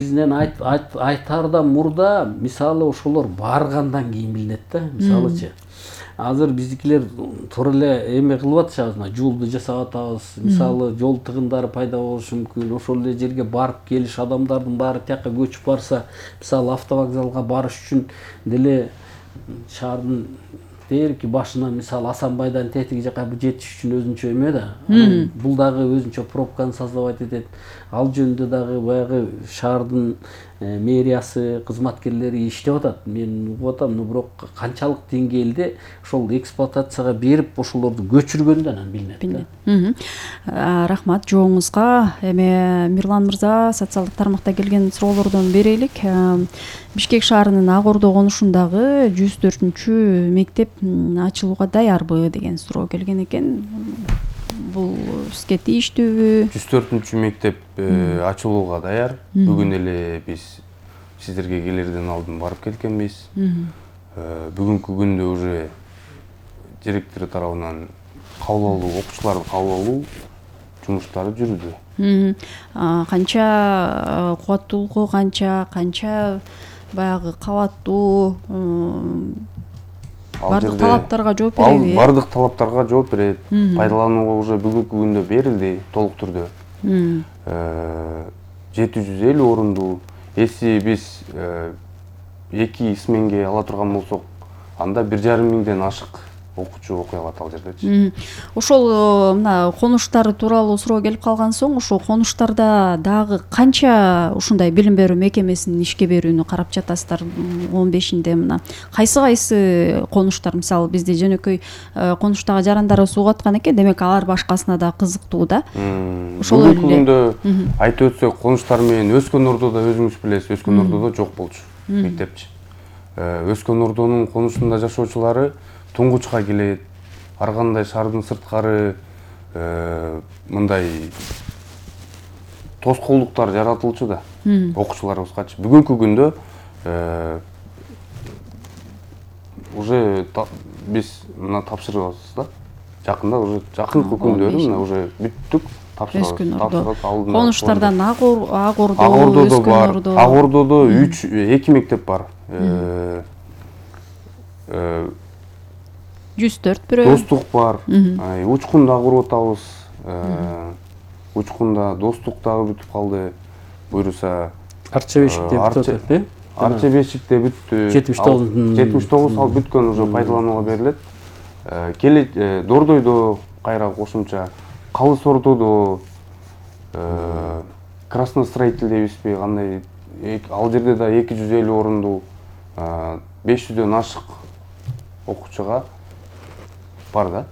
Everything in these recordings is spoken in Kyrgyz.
Бизден айтардан мурда мисалы ошолор баргандан кийин билинет да. Мисалычы азыр биздикилер туура эле эме кылып атышабыз, жолду жасап атабыз. Мисалы жол тыгындары пайда болушу мүмкүн. Ошол эле жерге барып келиш адамдардын баары тияка көчүп барса, мисалы автовокзалга барыш үчүн деле шаардын дээрки башына мисалы Асанбайдан тетиги жака жетиш үчүн өзүнчө эме да. Бул дагы өзүнчө пробканы создавать этет. Ал жөнүндө дагы баягы шаардын мэриясы, кызматкерлери иштеп атат. Мен угуп атам, бирок канчалык деңгээлде ошол эксплуатацияга берип ошолорду көчүргөндөн анан билинет. Рахмат жооңузга. Эми Мирлан мырза социалдык тармакта келген суроолордон берелик. Бишкек шаарынын Ак Ордо конушундагы 104 мектеп ачылууга даярбы деген суроо келген экен. Бул сизге тийиштүүбү? 104 мектеп ачылууга даяр. Бүгүн эле биз сиздерге келерден алдын барып кеткенбиз. Бүгүнкү күндө уже директор тарабынан кабыл алуу, окуучуларды кабыл алуу жумуштары жүрүүдө. Канча кубаттуулугу канча баягы кабаттуу бардык талаптарга жооп береби? Бардык талаптарга жооп берет. Пайдаланууга уже бүгүнкү күндө берилди толук түрдө. 750 орундуу. Если биз 2 сменге ала турган болсок, анда 1,5 миңден ашык окуучу окуй алат ал жердечи. Ошол мына конуштар тууралуу суроо келип калган соң, ошол конуштарда дагы канча ушундай билим берүү мекемесинин ишке берүүнү карап жатасыздар? 15-инде мына кайсы конуштар, мисалы бизде жөнөкөй конуштагы жарандар сууга аткан экен, демек алар башкасына да кызыктуу да. Ошол эле күндө айтып өтсөк, конуштар менен Өскөн Ордодо өзүңүз билесиз, Өскөн Ордодо жок болчу мектепчи. Өскөн Ордонун конушунда жашоочулары туңгучка келет, ар кандай шаардын сырткары мындай тоскоолдуктар жаратылчу да окуучуларыбызгачы. Бүгүнкү күндө уже биз мына тапшырабыз да. Жакында уже жакынкы күндөрү мына уже бүттүк, тапшырабыз. Конуштардан Ак Ордо, Өскөн Ордо. Ак Ордодо 2 мектеп бар. 104 бирөө. Достук бар. Учкунда куруп атабыз. Учкунда достук дагы бүтүп калды. Буйруса Арча бешикте бүтүп атат, э? Арча бешикте бүттү. 79 ал бүткөн уже пайдаланууга берилет. Келет Дордойдо кайра кошумча, Калыс Ордодо, Красностроитель дейбизби, кандай ал жерде да 250 орундуу 500дөн ашык окуучуга бар да.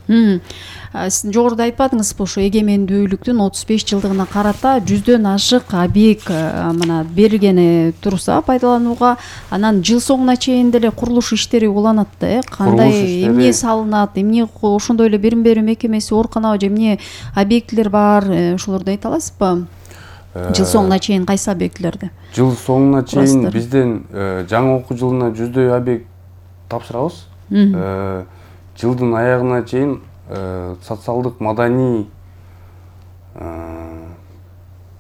Сиз жогоруда айтпадыңызбы, ошо эгемендүүлүктүн 35 жылдыгына карата 100дөн ашык объект мына берилгени турса пайдаланууга, анан жыл соңуна чейин деле курулуш иштери уланат да, кандай эмне салынат, эмне ошондой эле билим берүү мекемеси ооруканабы же эмне объектилер бар, ошолорду айта аласызбы? Жыл соңуна чейин кайсы объектилерди? Жыл соңуна чейин бизден жаңы окуу жылына 100дөй объект тапшырабыз. Жылдын аягына чейин социалдык маданий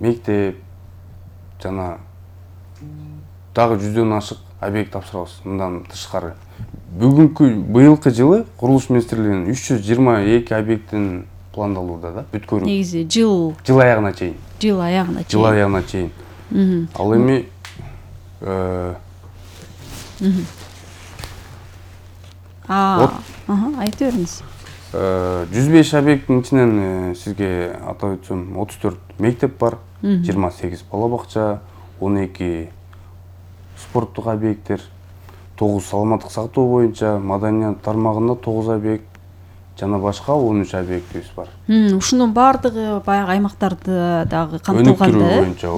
мектеп жана дагы 100дөн ашык объект тапшырабыз. Мындан тышкары быйылкы жылы курулуш министрлигинин 322 объектин пландалууда да, бүткөрүү. Негизи жыл аягына чейин. Жыл аягына чейин. Ал эми айта бериңиз. 105 объекттин ичинен сизге атап өтсөм 34 мектеп бар, 28 бала бакча, 12 спорттук объекттер, 9 саламаттык сактоо боюнча маданият тармагында 9 объект жана башка 13 объектибиз бар. Ушунун баардыгы баягы аймактарда дагы камтылган да. Өнүктүрүү боюнча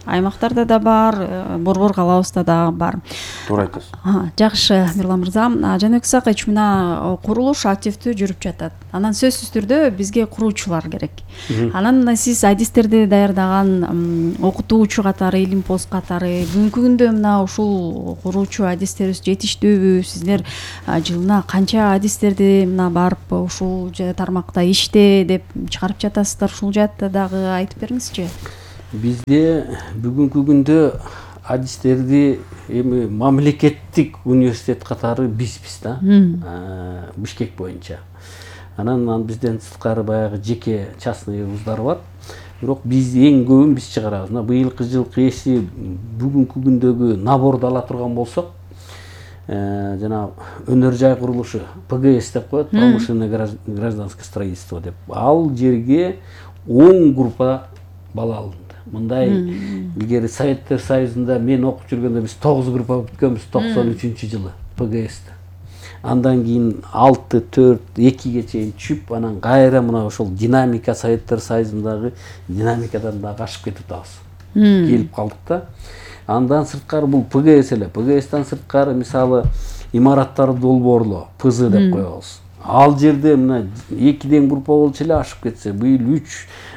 аймактарда да бар, Борбор калабызда да бар. Туура айтасыз. Жакшы, Мирлан мырза. Жаныбек Исакович, мына курулуш активдүү жүрүп жатат. Анан сөзсүз түрдө бизге куруучулар керек. Анан сиз адистерди даярдаган окутуучу катары, илим пост катары, бүгүнкү күндө мына ушул куруучу адистерибиз жетиштүүбү? Сиздер жылына канча адистерди мына барып ушул тармакта иште деп чыгарып жатасыздар? Ушул жаатта дагы айтып бериңизчи. Бизде бүгүнкү күндө адистерди эми мамлекеттик университет катары бизбиз да, Бишкек боюнча. Анан бизден сырткары баягы жеке частный вуздар бар. Бирок биз эң көбүн биз чыгарабыз. Мына быйылкы жылкы эси бүгүнкү күндөгү наборду ала турган болсок, жана өнөр жай курулушу ПГС деп коет, промышленное гражданское строительство деп. Ал жерге 10 группа бала алынды. Мындай илгери Советтер Союзунда мен окуп жүргөндө биз 9 группа бүткөнбүз 93-жылы ПГС'те. Андан кийин 6, 4, 2ге чейин түшүп, анан кайра мына ошол динамика Советтер Союзундагы динамикадан дагы ашып кетип атабыз. Келип калдык да. Андан сырткары бул ПГС эле. ПГСтан сырткары мисалы имараттар долбоорлоо, ПЗ деп коебуз. Ал жерде мына 2ден группа болчу эле ашып кетсе, быйыл 3,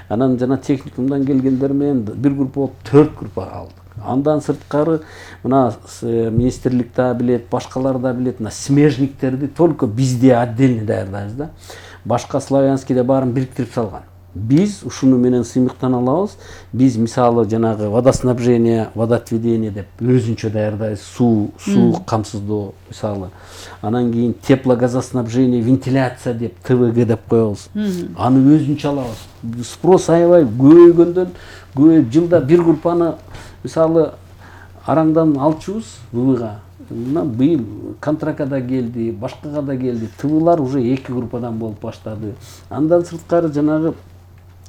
анан жана техникумдан келгендер менен бир группа болуп 4 группа алдык. Андан сырткары мына министрлик да билет, башкалар да билет, мына смежниктерди только бизде отдельно даярдайбыз да. Башка славянскийде баарын бириктирип салган. Биз ушуну менен сыймыктан алабыз. Биз мисалы жанагы водоснабжение, водоотведение деп өзүнчө даярдайбыз. Суу камсыздоо мисалы. Анан кийин теплогазоснабжение, вентиляция деп ТВГ деп коебуз. Аны өзүнчө алабыз. Спрос аябай көбөйгөндөн көбөйүп жылда бир группаны мисалы араңдан алчубуз ВВга. Мына быйыл контракка да келди, башкага да келди. ТВлар уже 2 группадан болуп баштады. Андан сырткары жанагы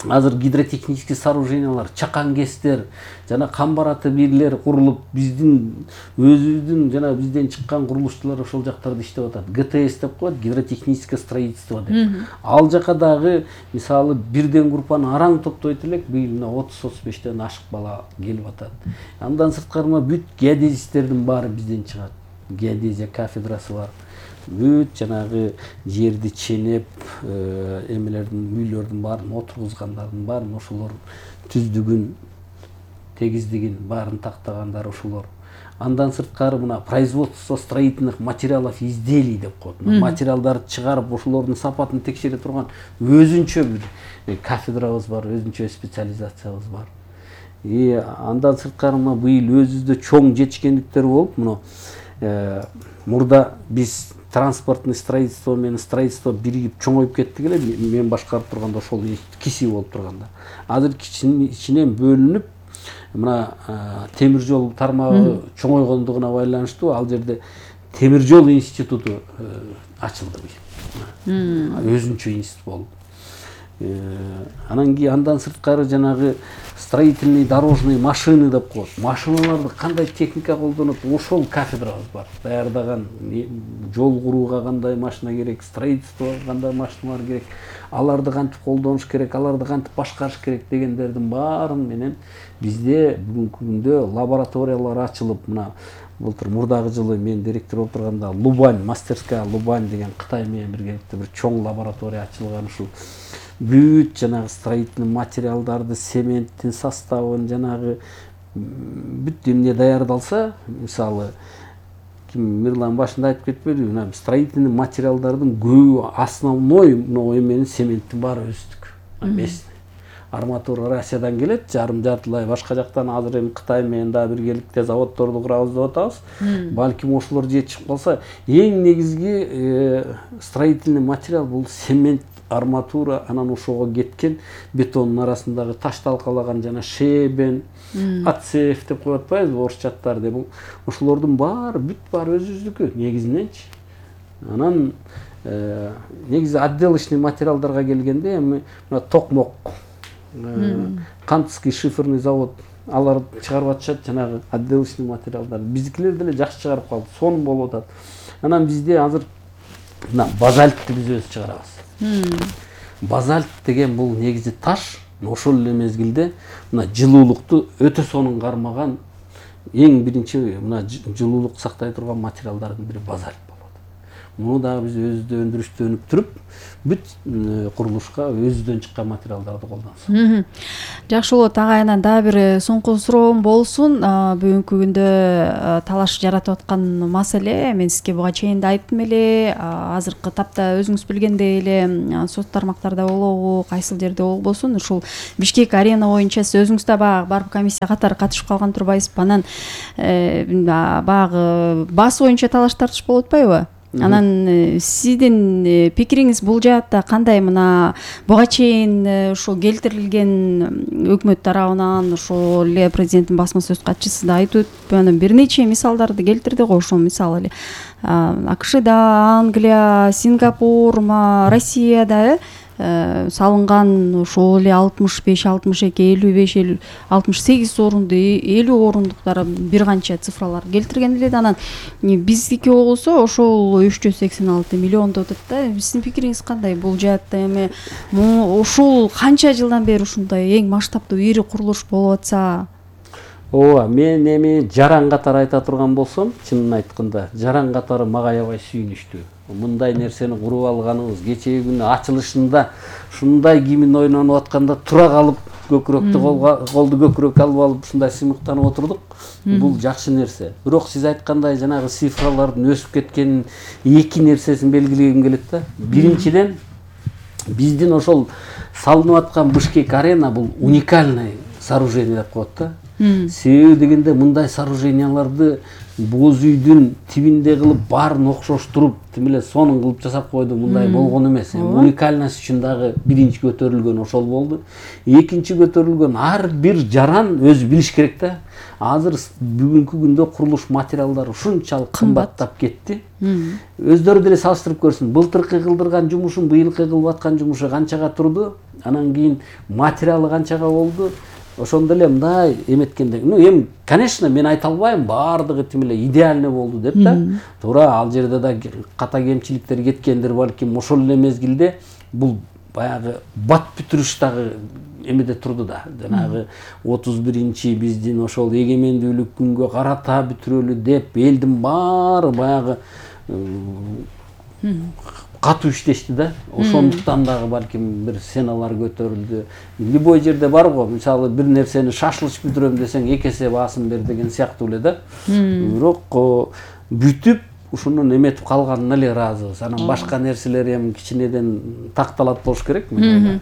азыр гидротехнический сооружениялар, чакан кестер, жана камбараты бирлер курулуп, биздин өзүбүздүн жана бизден чыккан курулушчулар ошол жактарда иштеп атат. ГТС деп коет, гидротехническое строительство деп. Ал жака дагы мисалы бирден группаны араң топтойт элек, быйыл 30-35тен ашык бала келип атат. Андан сырткары бүт геодезистердин баары бизден чыгат. Геодезия кафедрасы бар. Бүт жанагы жерди ченеп, эмелердин, үйлөрдүн баарын отургузгандардын баарын ошолор түздүгүн, тегиздигин баарын тактагандар ошолор. Андан сырткары мына производство строительных материалов изделий деп коет. Материалдарды чыгарып, ошолордун сапатын текшере турган өзүнчө бир кафедрабыз бар, өзүнчө специализациябыз бар. Андан сырткары мына быйыл өзүбүздө чоң жетишкендиктер болуп, мына мурда биз транспортный строительство менен строительство биригип чоңоюп кеттик эле, мен башкарып турганда ошол киси болуп турганда. Азыр ичинен бөлүнүп, мына темир жол тармагы чоңойгондугуна байланыштуу ал жерде темир жол институту ачылды быйыл. Өзүнчө институт болуп. Анан кийин андан сырткары жанагы строительный дорожный машины деп коет. Машиналарды кандай техника колдонот, ошол кафедрабыз бар. Даярдаган жол курууга кандай машина керек, строительствого кандай машиналар керек, аларды кантип колдонуш керек, аларды кантип башкарыш керек дегендердин баарын менен бизде бүгүнкү күндө лабораториялар ачылып, мына былтыр мурдагы жылы мен директор болуп турганда Лубань, мастерская Лубань деген Кытай менен биргеликте бир чоң лаборатория ачылган. Ушул бүт жанагы строительный материалдарды, цементтин составын, жанагы бүт эмне даярдалса, мисалы Мирлан башында айтып кетпедиби, мына строительный материалдардын көбү основной эменин цементтин баары өздүк. Местный. Арматура Россиядан келет, жартылай башка жактан, азыр эми Кытай менен да биргеликте заводдорду курабыз деп атабыз. Балким ошолор жетишип калса, эң негизги строительный материал бул цемент, арматура, анан ошого кеткен бетондун арасындагы таш талкалаган жана шебен, АЦФ деп коюп атпайбызбы орусчаттар деп. Ошолордун баары бүт баары өзүбүздүкү негизиненчи. Анан негизи отделочный материалдарга келгенде эми мына токмок, Кантский шиферный завод алар чыгарып атышат жанагы отделочный материалдар. Биздикилер деле жакшы чыгарып калды, сонун болуп атат. Анан бизде азыр мына базальтты биз өзү чыгарабыз. Базальт деген бул негизи таш, ошол эле мезгилде мына жылуулукту өтө сонун кармаган эң биринчи мына жылуулук сактай турган материалдардын бири базальт болот. муну дагы биз өзүбүздө өндүрүштөнүп туруп бүт курулушка өзүбүздөн чыккан материалдарды колдонсок. Жакшы болот. Агайынан дагы бир соңку суроом болсун. Бүгүнкү күндө талаш жаратып аткан маселе, мен сизге буга чейин да айттым эле, азыркы тапта өзүңүз билгендей эле сот тармактарда болобу, кайсыл жерде болбосун, ушул Бишкек арена боюнча сиз өзүңүз да баягы барып комиссия катары катышып калган турбайсызбы? Анан баягы баас боюнча талаш тартыш болуп атпайбы? Анан сиздин пикириңиз бул жаатта кандай? Мына буга чейин ушул келтирилген өкмөт тарабынан ошол эле президенттин басма сөз катчысы да айтып өтүп, анан бир нече мисалдарды келтирди го. Ошол мисалы эле АКШда, Англия, Сингапур, Россияда салынган ошол эле 65, 62, 55, 68 орунду, 50 орундуктар бир канча цифралар келтирген эле. Анан биздики болсо ошол 386 миллион деп атат да. Сиздин пикириңиз кандай бул жаатта? Эми ушул канча жылдан бери ушундай эң масштабдуу ири курулуш болуп атса? Ооба, мен эми жаран катары айта турган болсом, чынын айтканда, жаран катары мага аябай сүйүнүчтүү. Мындай нерсени куруп алганыбыз, кечеги күнү ачылышында ушундай гимн ойнонуп атканда тура калып, көкүрөктү колду көкүрөккө алып алып ушундай сыймыктанып отурдук. Бул жакшы нерсе. Бирок сиз айткандай жанагы цифралардын өсүп кеткенин эки нерсесин белгилегим келет да. Биринчиден, биздин ошол салынып аткан Бишкек арена бул уникальный сооружение деп коет да. Себеби дегенде мындай сооруженияларды боз үйдүн тибинде кылып баарын окшоштуруп, тим эле сонун кылып жасап койду, мындай болгон эмес. Уникальность үчүн дагы биринчи көтөрүлгөн ошол болду. Экинчи көтөрүлгөн ар бир жаран өзү билиш керек да. Азыр бүгүнкү күндө курулуш материалдары ушунчалык кымбаттап кетти. Өздөрү деле салыштырып көрсүн. Былтыркы кылдырган жумушун, быйылкы кылып аткан жумушу канчага турду, анан кийин материалы канчага болду. Ошондо эле мындай эметкенде, эми конечно мен айта албайм баардыгы тим эле идеальный болду деп да. Туура, ал жерде да ката кемчиликтер кеткендир балким. Ошол эле мезгилде бул баягы бат бүтүрүш дагы эмеде турду да. Жанагы 31-чи биздин ошол эгемендүүлүк күнгө карата бүтүрөлү деп элдин баары баягы катуу иштешти да. Ошондуктан дагы балким бир сценалар көтөрүлдү. Любой жерде бар го, мисалы бир нерсени шашылыш бүтүрөм десең эки эсе баасын бер деген сыяктуу эле да. Бирок бүтүп ушунун эметип калганына эле ыраазыбыз. Анан башка нерселер эми кичинеден такталат болуш керек мен.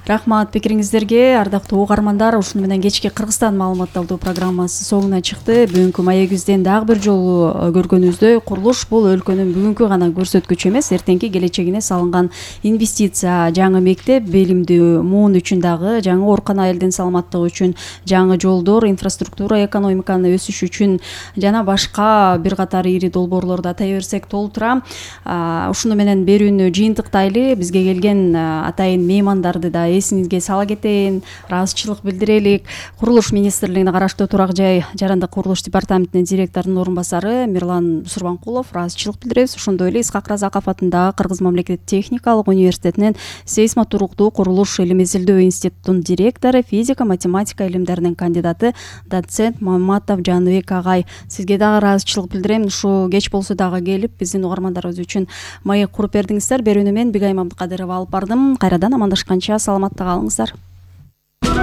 Рахмат пикириңиздерге, ардактуу угармандар. Ушуну менен кечки Кыргызстан маалыматталдуу программасы соңуна чыкты. Бүгүнкү маегибизден дагы бир жолу көргөнүбүздөй, курулуш бул өлкөнүн бүгүнкү гана көрсөткүчү эмес, эртеңки келечегине салынган инвестиция. Жаңы мектеп, билимдүү муун үчүн дагы, жаңы оорукана, элдин саламаттыгы үчүн, жаңы жолдор, инфраструктура, экономиканын өсүшү үчүн жана башка бир катар ири долбоорлорду атай берсек толтура. Ушуну менен берүүнү жыйынтыктайлы. Бизге келген атайын меймандарды да эсиңизге сала кетейин, ыраазычылык билдирелик. Курулуш министрлигине караштуу Турак жай жарандык курулуш департаментинин директорунун орун басары Мирлан Сурбанкулов ыраазычылык билдиребиз. Ошондой эле Исхак Разаков атындагы Кыргыз мамлекеттик техникалык университетинин сейсмотуруктуу курулуш илим изилдөө институтунун директору, физика, математика илимдеринин кандидаты, доцент Маматов Жаныбек агай. Сизге дагы ыраазычылык билдирем. Ушу кеч болсо дагы келип, биздин угармандарыбыз үчүн маек куруп бердиңиздер. Берүүнү мен Бигайым Абдыкадырова алып бардым. Кайрадан амандашканча саламатта калыңыздар.